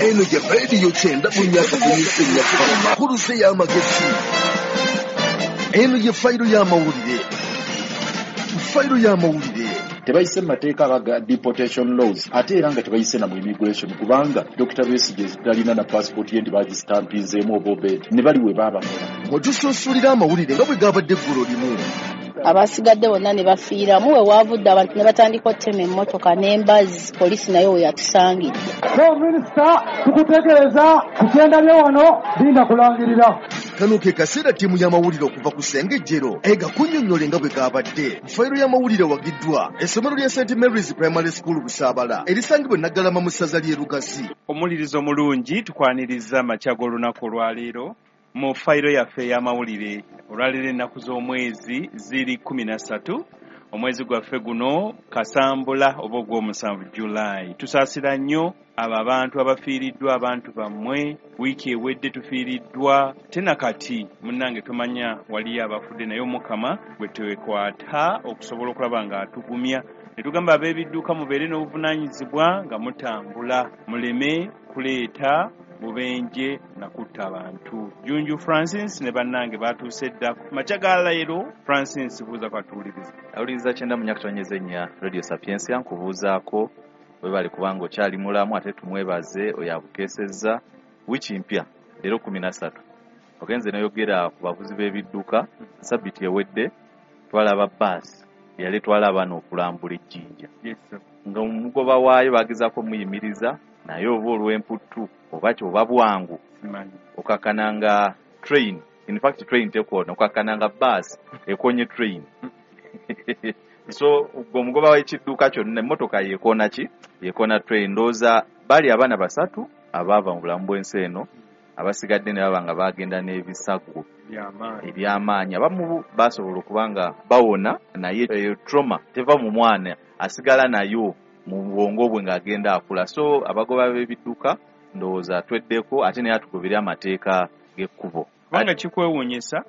Eno ye rediyo 94.4 Nkuluze y'amagezi. Eno ye fayiro y'amawulire. Fayiro y'amawulire. Tebayise mu mateeka aga deportation laws, ate era nga tebayise na mu immigration, kubanga Dr. Besigye talina na passport ye nti bagisitampinzeemu oba obed ne bali we baabakola. Mwe tusunsulira amawulire nga bwe gabadde eggulo limu. Abasigadde bonna ne bafiiramu. We waavudde abantu ne batandika okutema emmotoka n'embazzi, poliisi nayo we yatusangidde. So minisita, tukutegeeza ku kyendabye wano, linda kulangirira. Kano ke kaseera ttiimu y'amawulire okuva ku Ssengejjero egakunnyonnyole nga bwe gabadde. Fayiro y'amawulire wagiddwa essomero lya St Mary's Primary School Busaabala, erisangibwa e Naggalama mu ssaza ly'e Lugazi. Omulirizo omulungi, tukwaniriza amakya g'olunaku olwaleero mu fayiro yaffe ey'amawulire. Olwaleero ennaku z'omwezi ziri 13, omwezi gwaffe guno Kasambula oba ogw'omusanvu, Julayi. Tusaasira nnyo abo abantu abafiiriddwa abantu bammwe. Wiiki ewedde tufiiriddwa tena kati munnange tomanya waliyo abafudde, naye Omukama gwe twekwata okusobola okulaba nga atugumya. Ne tugamba ab'ebidduka mubeere n'obuvunaanyizibwa nga mutambula, muleme kuleeta bubenje na kutta abantu. Junju Francis ne bannange batuuse dda makya ga leero. Francis, buuza kwatuwuliriza. Awuliriza 94.4 Radio Sapiensia, nkubuuzaako, webale kubanga okyali mulamu, ate tumwebaze oyo abukeesezza. Wiiki mpya leero 13. Ogenze noyogera ku bavuzi b'ebidduka. Sabiti ewedde twalaba baasi eyali etwala abaana okulambula ejjinja nga omugoba waayo bagezaako omuyimiriza, naye oba olw'emputtu oba ki oba bwangu, simanyi, okakkana nga train, in fact train tekoona, okakkana nga baasi ekonye train. So gwe omugoba w'ekidduka kyonna, emmotoka yekoona ki? Yekoona train. Ndowooza baali abaana basatu abaava mu bulamu bw'ensi eno, abasigadde ne baba nga bagenda n'ebisago byamaanyi ebyamaanyi. Abamu basobola okuba nga bawona, naye eyo trauma teva mu mwana, asigala nayo mu bwongo bwe ng'agenda akula. So abagoba b'ebidduka, ndowooza tweddeko, ate naye atugobere amateeka g'ekkubo. Kubanga kikwewuunyisa,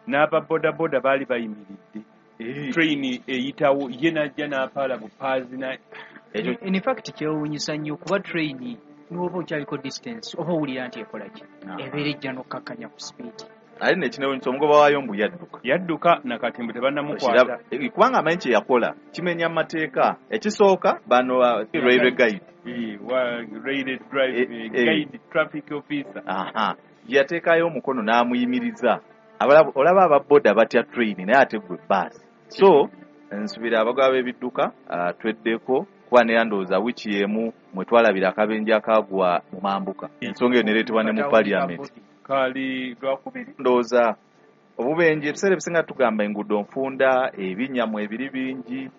n'ababodaboda baali bayimiridde, train eyitawo, ye najja n'apaala bupaazi na Ekyo In fact kyewuunyisa nnyo, kuba train n'oba okyaliko distance oba owulira nti ekola ki, ebeera ejja n'okkakkanya ku speed. Ate nekinewunyisa, omugoba waayo mbu yadduka. Yadduka, nakati mbu tebannamukwata. Okiraba? Kubanga amanyi kye yakola kimenya mateeka. Ekisooka bano railway guide Railway drive guide traffic officer. Aha, yateekayo omukono n'amuyimiriza. Olaba ababoda batya train, naye ate gwe baasi. So nsubira abagoba b'ebidduka tweddeko, kuba neera ndowooza wiiki y'emu mwe twalabira akabenje akagwa mu mambuka, ensonga eyo nereetebwa ne mu parliament. Kaali lwakubiri. Ndowooza obubenje ebiseera ebisinga tugamba enguudo nfunda, ebinnya mwebiri bingi,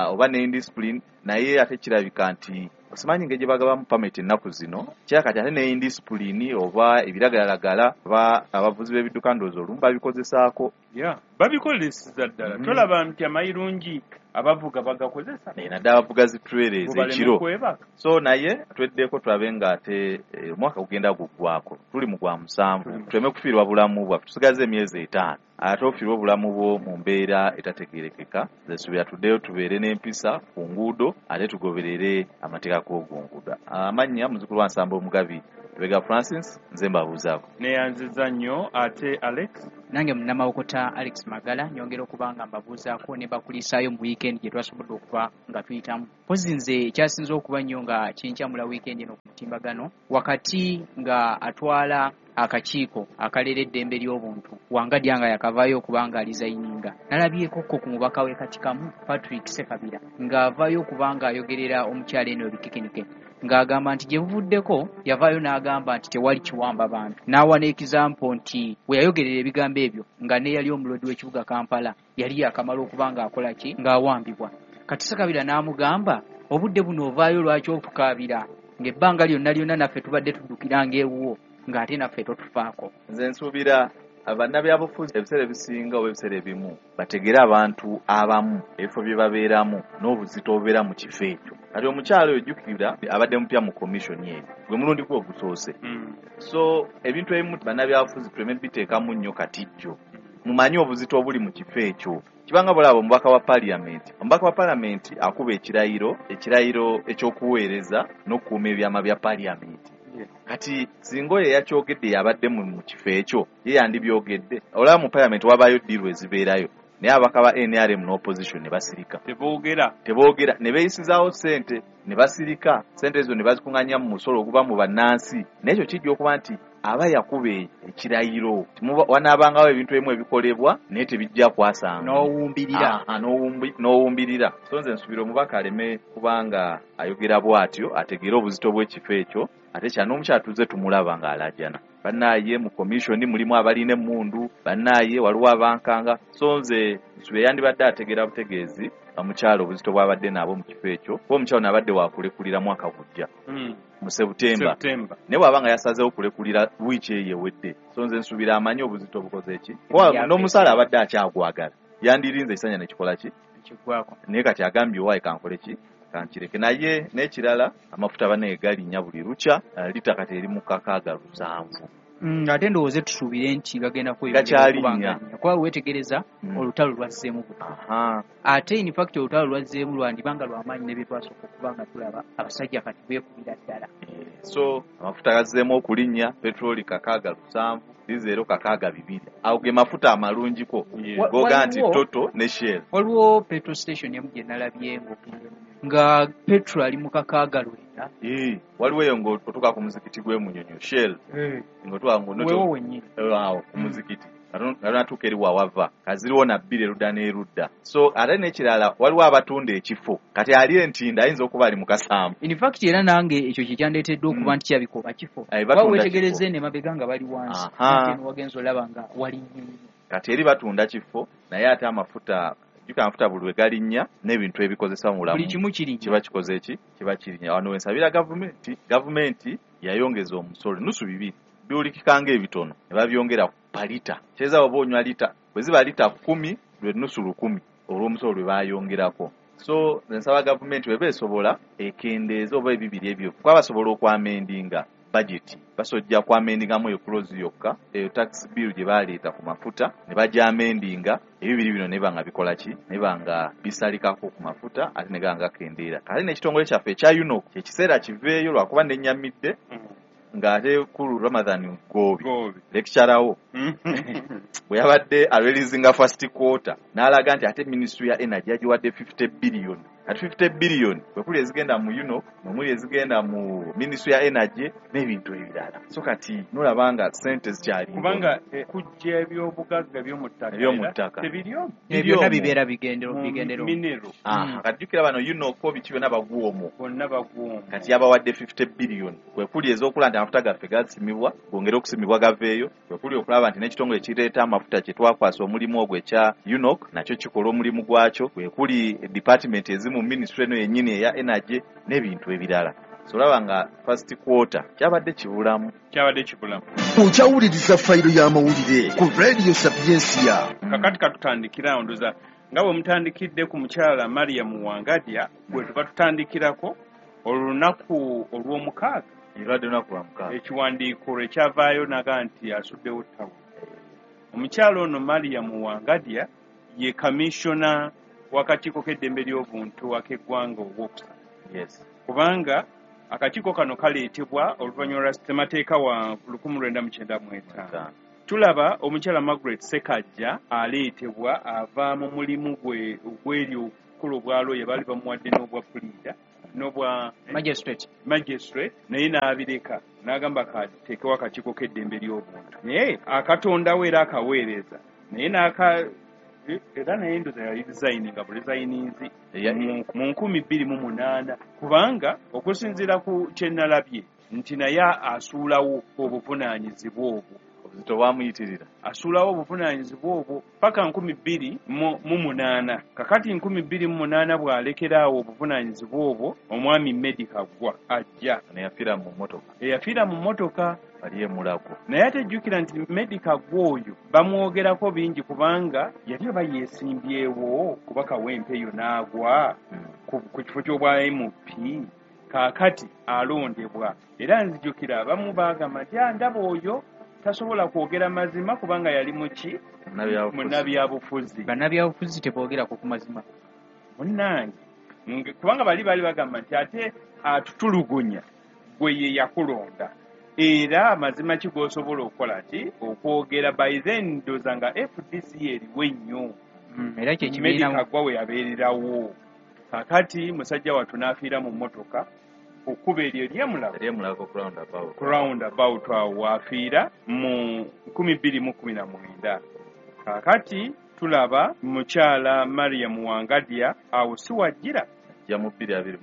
oba ne indiscipline, naye ate kirabika nti simanyi engeri gye bagabamu permit ennaku zino, kyakati ate ne indiscipline oba ebiragalalagala oba abavuzi b'ebidduka ndowooza olumu babikozesaako. Ya, babikozeseza ddala. Tolaba nti amayirungi abavuga bagakozesa? Naddala abavuga zi trailers Bo baleme ekiro. kwebaka. So naye tweddeko, tulabe nga ate omwaka gugenda guggwako, tuli mu gwa musanvu, tuleme kufiirwa bulamu bwaffe. Tusigaze emyezi 5, ate ofiirwa obulamu bwo mu mbeera etategeerekeka. Nze tuddeyo tubeere n'empisa ku nguudo, ate tugoberere amateeka g'ogunguudo. Amannya muzukulu wa Nsamba Omugabi Lubega Francis, nze mbabuuzaako. Neyanziza nnyo. Ate Alex? Nange munnamawokota Alex Magala, nyongera okuba nga mbabuuzaako ne bakulisaayo mu wiikendi gye twasobodde okuba nga tuyitamu. Mpozi nze ekyasinze okuba nnyo nga kinkyamula wiikendi eno ku mutimbagano, wakati nga atwala akakiiko akalera eddembe ly'obuntu Wangadya nga yakavaayo okuba nga alizayininga, nalabyeko ko ku mubaka w'e Katikamu Patrick Sekabira ng'avaayo okuba ng'ayogerera omukyala eno ebikekenike, ng'agamba nti gye buvuddeko yavaayo n'agamba nti tewali kiwamba bantu, n'awa n'example nti we yayogerera ebigambo ebyo nga neyali omulodi w'ekibuga Kampala yali yakamala okuba ng'akola ki, ng'awambibwa. Kati Sekabira n'amugamba, obudde buno ovaayo lwaki okukaabira ng'ebbanga lyonna lyonna naffe tubadde tuddukiranga ewuwo, ng'ate naffe totufaako? Nze nsuubira bannabyabufuzi ebiseera ebisinga oba ebiseera ebimu bategere abantu abamu ebifo bye babeeramu n'obuzito obubeera mu kifo ekyo. Kati omukyala oyo, jjukira abadde mupya mu commission eyo, gwe mulundi gwe ogusoose. So ebintu ebimu bannabyabufuzi tuleme biteekamu nnyo katijjo. Mumanyi obuzito obuli mu kifo ekyo. Kibanga bulaba omubaka wa parliament. Omubaka wa parliament akuba ekirayiro ekyokuweereza n'okukuuma ebyama bya parliament. Kati singa oyo yakyogedde yabadde mu kifo ekyo, ye yandibyogedde. Olaba mu parliament wabaayo ddiiru ezibeerayo, naye ababaka ba NRM n'opposition ne basirika. Teboogera ne beeyisizaawo ssente ne basirika. Ssente ezo ne bazikuŋŋaanya mu musolo oguva mu bannansi. Naye ekyo kijja okuba nti aba yakuba ekirayiro. Wanaabangawo ebintu ebimu ebikolebwa naye tebijja kwasanga. N'owumbirira. N'owumbirira. So nze nsuubira omubaka aleme kubanga ayogera bw'atyo, ategeere obuzito bw'ekifo ekyo, ate kya n'omukyala tuzze tumulaba ng'alaajana. Bannaaye mu commission mulimu abalina emmundu, bannaaye waliwo abankanga. So nze nsuubira yandibadde ategeera butegeezi omukyala obuzito bw'abadde nabo mu kifo ekyo, kuba omukyala ono abadde wakulekulira mwaka gujja. Mu September. Naye bw'aba nga yasazeewo kulekulira wiiki eyo ewedde. So nze nsuubira amanyi obuzito obukoze ki. Kuba n'omusaala abadde akyagwagala, yandirinze ekisanja ne kikola ki? Kiggwako. Naye kati agambye owaaye kankole ki? Kankireke. Naye n'ekirala amafuta bannaye galinnya buli lukya, lita kati eri mu 6,700. Ate ndowooza tusuubire nti gagenda kweyongera okuba kuba weetegereza olutalo lwazzeemu buto. Ate in fact olutalo lwazzeemu lwandibanga lwamaanyi ne bye twasooka okuba nga tulaba abasajja kati beekubira ddala. So amafuta gazzeemu okulinnya, petroli 6,700, dizero 6,200. Ago ge mafuta amalungiko goga nti Toto ne Shell. Waliwo petrol station emu gye nalabye nga petrol ali mu 6,900. Waliwo eyo ng'otuuka ku muzikiti gw'e Munyonyo, Shell. Ng'otuuka wewo wennyini awo ku muzikiti. Natuuka eri wawava kaziriwo na bbiri erudda n'erudda. So ate n'ekirala waliwo abatunda ekifo, kati ali entinda ayinza okuba ali mu kasambu. In fact era nange ekyo kye kyandeetedde okuba nti kirabika oba kifo. Kuba weetegereze eno emabega nga bali wansi, ate eno wagenza olaba nga wali nnyo. Kati eri batunda kifo, naye ate amafuta jjuka amafuta buli lwe galinnya n'ebintu ebikozesa mu bulamu buli kimu kirinnya. Kiba kikoze ki? Kiba kirinnya. Wano we nsabira gavumenti yayongeza omusolo 2.5 biwulikika ng'ebitono ne babyongera ku palita. Kyeza oba onywa lita, bwe ziba lita 10 lwe 1,000 olw'omusolo lwe baayongerako. So nsaba gavumenti bw'eba esobola ekendeeze oba ebibiri ebyo, kuba basobola okwamendinga budget, basojja kwamendingamu eyo clause yokka, eyo tax bill gye baleeta ku mafuta ne bagyamendinga, ebibiri bino ne banga bikola ki? Ne banga bisalikako ku mafuta ate ne ganga kendeera. Kale n'ekitongole kyaffe ekya UNOC ekiseera kiveeyo lwakuba nennyamidde ng'ate kulu Ramadhan Goobi lecturer bwe yabadde areleasinga first quarter n'alaga nti ate ministry ya energy yagiwadde 50 billion. Ati 50 billion bwe kuli ezigenda mu UNOC, nomuli ezigenda mu ministry ya energy n'ebintu ebirala. So kati nolaba nga ssente zikyali kubanga kujja ebyobugagga eby'omu ttaka tebiri omwo. Byonna bibeera bigendero. Minero. Kati jjukira bano UNOC biki byonna baguwa omwo. Bonna baguwa omwo. Kati yabawadde 50 billion kwe kuli ez'okulaba nti amafuta gaffe gasimibwa, gongere okusimibwa gaveeyo, kwe kuli okulaba nti n'ekitongole kireeta amafuta kye twakwasa omulimu ogwo ekya UNOC nakyo kikola omulimu gwakyo, kwe kuli department ezimu ministry eno yennyini eya energy n'ebintu ebirala. So olaba nga first quarter kyabadde kibulamu. Kyabadde kibulamu. Okyawuliriza fayiro y'amawulire ku Radio Sapiensia. Kakati katutandikira awo ndoza nga bwe mutandikidde ku mukyala Mariam Wangadya gwe tuba tutandikirako olunaku olw'omukaaga. Erwadde lunaku lwa mukaaga. Ekiwandiiko lwe kyavaayo naga nti asuddewo ttawulo. Omukyala ono Mariam Wangadya ye kamishona w'akakiiko k'eddembe ly'obuntu ak'eggwanga ogwokusatu. Kubanga akakiiko kano kaleetebwa oluvannyuma lwa ssemateeka wa 1995. Tulaba omukyala Margaret Ssekajja aleetebwa ava mu mulimu gwe ogw'eri okukola obwalooya, baali bamuwadde n'obwa puliida n'obwa magistrate, magistrate, naye n'abireka n'agamba kateekewo akakiiko k'eddembe ly'obuntu, naye akatondawo era akaweereza, naye n'aka era naye ndoza yali resigninga bu resigninzi mu 2008, kubanga okusinziira ku kye nalabye nti naye asuulawo obuvunaanyizibwa obwo. Obuzito bwamuyitirira. Asuulawo obuvunaanyizibwa obwo paka 2008. Kakati 2008 bw'alekeraawo obuvunaanyizibwa obwo, omwami Medi Kaggwa ajja. Neyafiira mu mmotoka. Eyafiira mu mmotoka. Ali e Mulago. Naye ate jjukira nti Medi Kaggwa oyo bamwogerako bingi kubanga yali oba yeesimbyewo kuba Kawempe eyo n'agwa ku kifo ky'obwa MP. Kaakati alondebwa. Era nzijukira abamu baagamba nti ndaba oyo Tasobola kwogera mazima kubanga yali muki munnabyabufuzi. Bannabyabufuzi tebogerako ku mazima. Munnange, kubanga bali bagamba nti ate atutulugunya gwe ye yakulonda, era amazima ki g'osobola okukola ki okwogera. By then ndowooza nga FDC eriwo ennyo, era kye kibiina Meddie Kaggwa we yabeererawo. Kakati musajja wattu n'afiira mu mmotoka okkuba eryo ery'e Mulago ku roundabout awo waafiira mu 2019. Kakati tulaba mukyala Mariam Wangadya awo si wajjira ja mu 2021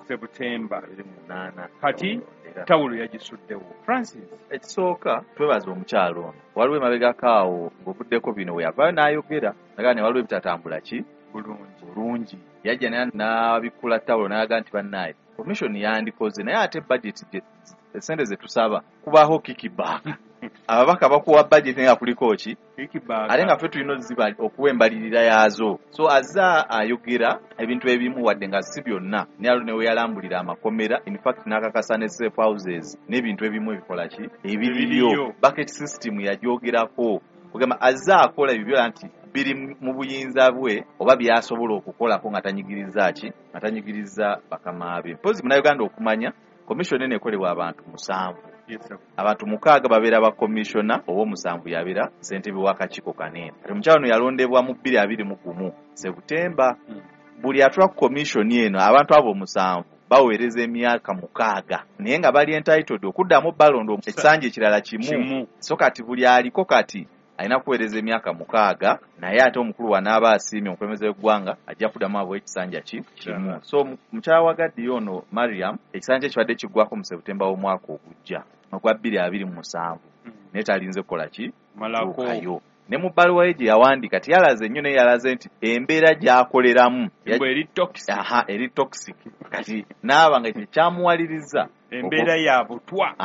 September 28. Kati tawulo yagisuddewo. Francis, ekisooka twebaza omukyalo ono. Waliwo emabegako awo ng'ovuddeko bino we yavaayo n'ayogera nagaa ne waliwo ebitatambula ki bulungi. Yajja n'abikkula tawulo n'alaga nti bannaye commission yandikoze, naye ate budget essente ze tusaba kubaako kickback. Ababaka bakuwa budget nga kuliko ki ate nga ffe tulina okuwa embalirira yaazo. So azza ayogera ebintu ebimu wadde nga si byonna, naye alo ne we yalambulira amakomera, in fact n'akakasa ne safe houses n'ebintu ebimu ebikola ki ebiriyo. Bucket system yagyogerako, kugamba azza akola ebyo byonna nti biri mu buyinza bwe oba byasobola okukolako nga tanyigiriza ki, nga tanyigiriza bakama be. Mpozi munnayuganda okumanya commission eno ekolebwa abantu 7. Abantu 6 babeera ba commissioner, ow'omusanvu yabeera ssentebe w'akakiiko kanene. Kati omukyala ono yalondebwa mu 2021 September. Buli atula ku commission eno abantu abo 7 baweereza emyaka 6, naye nga bali entitled okuddamu balonda ekisanja ekirala kimu. So kati buli aliko kati alina kuweereza emyaka 6, naye ate omukulu wanaaba asiimye omukulembeze w'eggwanga ajja kuddamu abawe ekisanja kimu. So mukyala wa Gadi ono Mariam ekisanja kibadde kiggwako mu September w'omwaka ogujja ogwa 2027, naye talinze kukola ki malako. Ne mu bbaluwa ye gye yawandiika teyalaze nnyo, naye yalaze nti embeera gy'akoleramu eri toxic. Kati naaba nga ekyo kyamuwaliriza embeera ya butwa.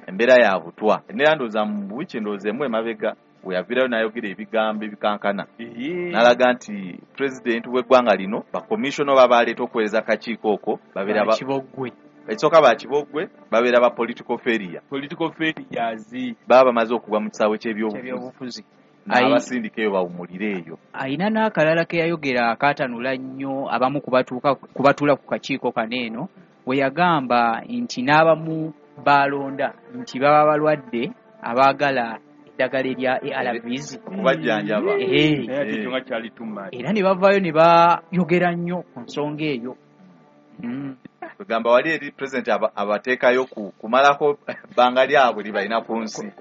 Embeera ya butwa. Nera ndowooza mu wiiki ndowooza emu emabega we yaviirayo n'ayogera ebigambo ebikankana, n'alaga nti pulezidenti w'eggwanga lino bakomishona oba baleeta okuweereza akakiiko okwo babeera Bakiboggwe. Ekisooka bakiboggwe babeera ba political failure. Political failures baba bamaze okugwa mu kisaawe ky'ebyobufuzi, n'abasindika eyo bawumulire eyo. Ayina n'akalala ke yayogera akaatanula nnyo abamu kubatuula ku kakiiko kano eno, we yagamba nti n'abamu balonda nti baba balwadde abaagala eddagala erya ARVs okubajjanjaba. Era ne bavaayo ne bayogera nnyo ku nsonga eyo. Kugamba wali eri president abateekayo kumalako bbanga lyabwe libalina ku nsi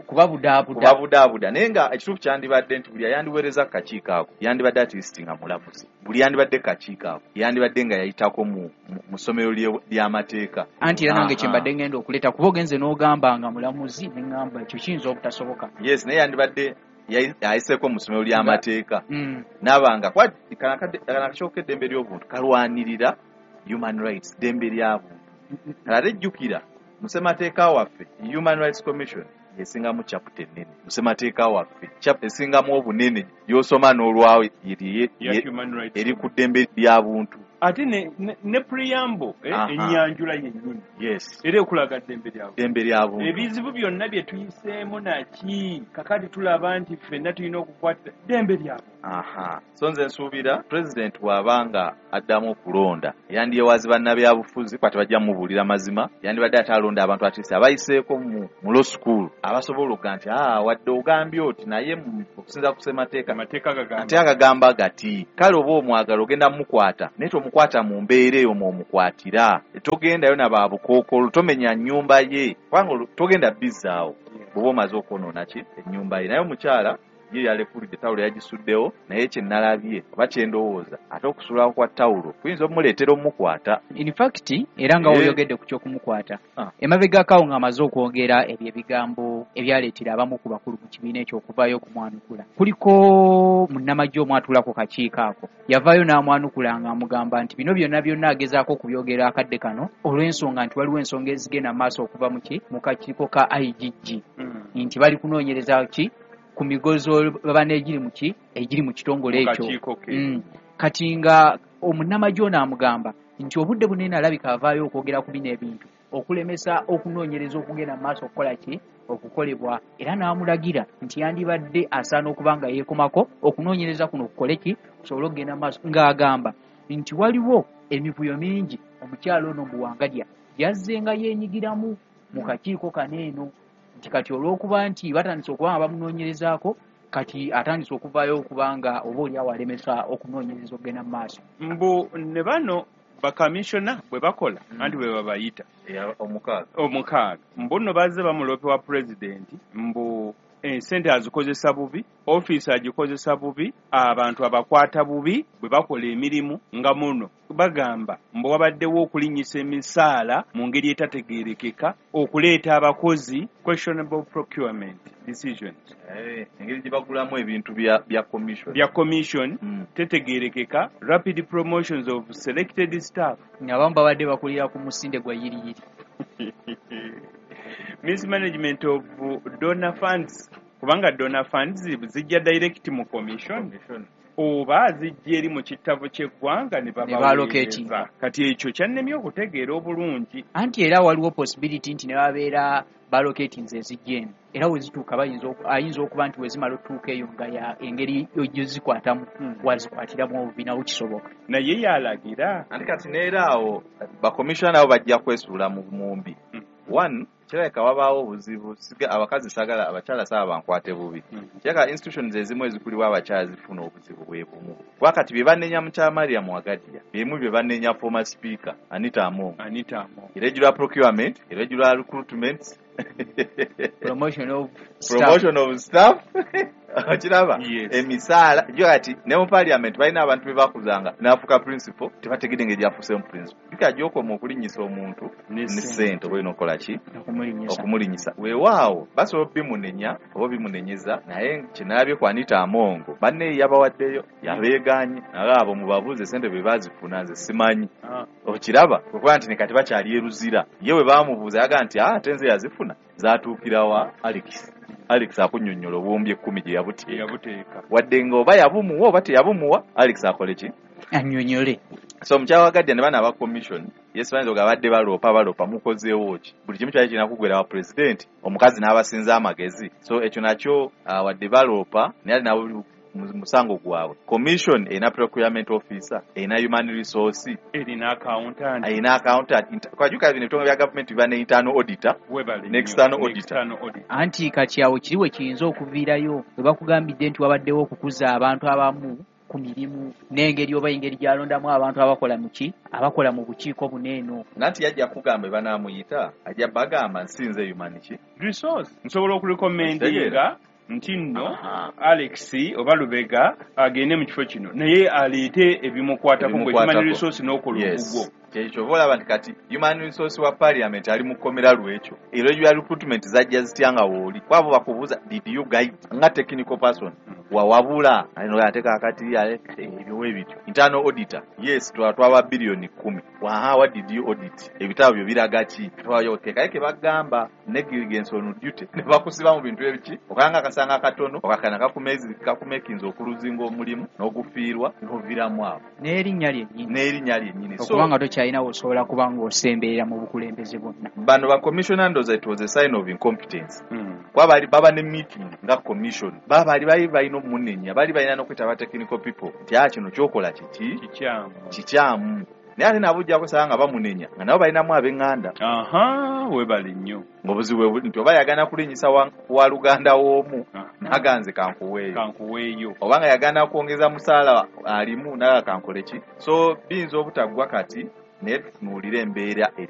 kubabudaabuda. Naye nga ekituufu kyandibadde nti buli ayandiweereza ku kakiiko ako yandibadde at least nga mulamuzi, buli yandibadde kakiiko ako yandibadde nga yayitako mu ssomero ly'amateeka. Anti era nange kye mbadde ngenda okuleeta, kuba ogenze n'ogamba nga mulamuzi ne ŋŋamba ekyo kiyinza obutasoboka. Yes, naye yandibadde yayiseeko mu ssomero ly'amateeka n'abanga kano akakiiko k'eddembe ly'obuntu kalwanirira human rights, ddembe lya buntu. Ate jjukira mu ssemateeka waffe Human Rights Commission esingamu chapter ennene. Mu ssemateeka waffe chapter esingamu obunene gy'osoma n'olwawo eri ku ddembe lya buntu. Ate ne preamble ennyanjula yennyini. Yes. Era ekulaga ddembe lya buntu. Ddembe lya buntu. Ebizibu byonna bye tuyiseemu naki kakati tulaba nti ffenna tulina okukwatira ddembe lya buntu. So nze nsuubira pulezidenti bw'abanga addamu okulonda yandyewazi bannabyabufuzi kuba tebajja mumubuulira mazima, yandibadde ate alonda abantu atisi abayiseeko mu law school abasobola okuga nti wadde ogambye oti naye okusinza ku ssemateeka ate agagamba gati kale oba omwagala ogenda mumukwata naye tomukwata mu mbeera eyo mw'omukwatira, togendayo na babukookolo, tomenya nnyumba ye kubanga togenda bizzaawo bw'oba omaze okwonoona ki ennyumba ye. Naye omukyala ye yalekulidde tawulo yagisuddewo, naye kye nalabye oba kye ndowooza ate okusuulawo kwa tawulo kuyinza okumuleetera omukwata. In fact era nga woyogedde ku ky'okumukwata, emabegako awo ng'amaze okwogera ebyo ebigambo ebyaleetera abamu ku bakulu mu kibiina ekyo okuvaayo okumwanukula, kuliko munnamagye omu atuula ku kakiiko ako yavaayo n'amwanukula ng'amugamba nti bino byonna byonna agezaako okubyogera akadde kano olw'ensonga nti waliwo ensonga ezigenda mu maaso okuva mu kakiiko ka IGG, nti bali kunoonyereza ki ku migozo baba n'egiri mu egiri mu kitongole ekyo. Kati nga omunnamagye ono amugamba Nti obudde bunene alabika avaayo okwogera ku bino ebintu okulemesa okunoonyereza okugenda mu maaso okukola ki okukolebwa, era n'amulagira nti yandibadde asaana okuba nga yeekomako okunoonyereza kuno kukole ki kusobole okugenda mu maaso, ng'agamba nti waliwo emivuyo mingi omukyala ono Mbuwangadya yazzenga yeenyigiramu mu kakiiko kano eno, nti kati olw'okuba nti batandise okuba nga bamunoonyerezaako kati atandise okuvaayo okuba nga oba oli awo alemesa okunoonyereza okugenda mu maaso. Mbu ne bano bakamishona bwe bakola anti bwe babayita omukaaga, mbu nno bazze bamulope wa pulezidenti mbu ensente azikozesa bubi, ofiisi agikozesa bubi, abantu abakwata bubi bwe bakola emirimu nga muno bagamba mbu wabaddewo okulinnyisa emisaala mu ngeri etategeerekeka, okuleeta abakozi questionable procurement decisions, engeri gye bagulamu ebintu bya commission, bya commission tetegeerekeka, rapid promotions of selected staff, abamu babadde bakulira ku musinde gwa yiriyiri, mismanagement of donor funds, kubanga donor funds zijja direct mu commission oba zijja eri mu kitabo ky'eggwanga ne babaweereza. Kati ekyo kyannemye okutegeera obulungi. Anti era waliwo possibility nti ne babeera balocatinze ezijja eno, era we zituuka ayinza okuba nti we zimala otuuka eyo nga engeri gyezikwatamu wazikwatiramu obubi, nawo kisoboka. Naye yalagira. Anti kati neera awo bakomishona nabo bajja kwesuula mu mumbi. One, kirabika wabaawo obuzibu, abakazi sagala abakyala saaba bankwate bubi. Kirabika institutions ezimu ezikulibwa abakyala zifuna obuzibu bwe bumu. Kuba kati bye banenya mukyala Mariam Wagadia, byemu bye banenya former speaker Anita Among. Irregular procurement, irregular recruitment, promotion of staff. Okiraba emisaala jo kati ne mu parliament balina abantu be bakuzanga n'afuuka principal, tebategedde engeri gy'afuuseemu principal. Jjukira gy'okoma okulinnyisa omuntu ne ssente oba olina okukola ki? Okumulinnyisa. Weewaawo basobola obimunenya oba obimunenyeza, naye kye nalabye ku Anita Among banne yabawaddeyo yabeegaanye, naye abo mubabuuze ssente bwe baazifuna nze simanyi. Okiraba okuba nti ne kati bakyali e Luzira, ye bwe baamubuuza yagamba nti ate nze yazifuna zaatuukira wa Alex. Alex akunnyonnyola obuwumbi 10 gye yabuteeka, wadde ng'oba yabumuwa oba teyabumuwa, Alex akole ki? Annyonnyole. So mukyala Wagadia ne bano aba commission, yes, bayinza okugamba badde baloopa mukozeewo ki? Buli kimu kyali kirina kuggwera wa pulezidenti, omukazi n'abasinza amagezi. So ekyo nakyo wadde baloopa naye ali nabo musango gwabwe. Commission erina procurement officer, erina human resource, erina accountant, erina accountant. Kwajjuka bino ebitongole bya gavumenti biba ne internal auditor ne external auditor. Anti kati awo kiri we kiyinza okuviirayo bwe bakugambidde nti wabaddewo okukuza abantu abamu ku mirimu n'engeri oba engeri gy'alondamu abantu abakola mu ki abakola mu bukiiko buno eno. Nanti yajja kugamba banaamuyita ajja bagamba nsinze human ki resource, nsobola okurecommendinga nti nno Alex oba Lubega agende mu kifo kino naye aleete ebimukwatako gwe human resource n'okola ogugwo. Kyekyo oba olaba nti kati human resource wa parliament ali mu kkomera lwekyo. Irregular recruitment zajja zitya nga wooli? Kwabo bakubuuza did you guide nga technical person wawabula ate kaakati ebyo we bityo. Internal auditor, yes, twaba biliyoni 10, waha what did you audit? Ebitabo byo biraga ki? Kaye ke bagamba negligence on duty ne bakusiba mu bintu ebiki okanga akasanga akatono okakana kakumekinza okuluzinga omulimu n'ogufiirwa n'oviiramu awo n'erinnya lyennyini okubanga tokyalina osobola kuba ng'osemberera mu bukulembeze bwonna. Bano ba commissioner ndoza it was a sign of incompetence. Kuba bali baba ne meeting nga commission, baba bali balina omunenya, bali balina n'okwetaba technical people nti kino kyokola kiki kikyamu. Naye ate nabo ojja kusanga nga bamunenya nga nabo balinamu ab'eŋŋanda. Webale nnyo. Ng'obuzibu nti oba yagaana kulinnyisa wa luganda w'omu naganze kankuweeyo, oba nga yagaana kwongeza musaala alimu naga kankole ki. So biyinza obutaggwa kati naye tutunuulire embeera eri.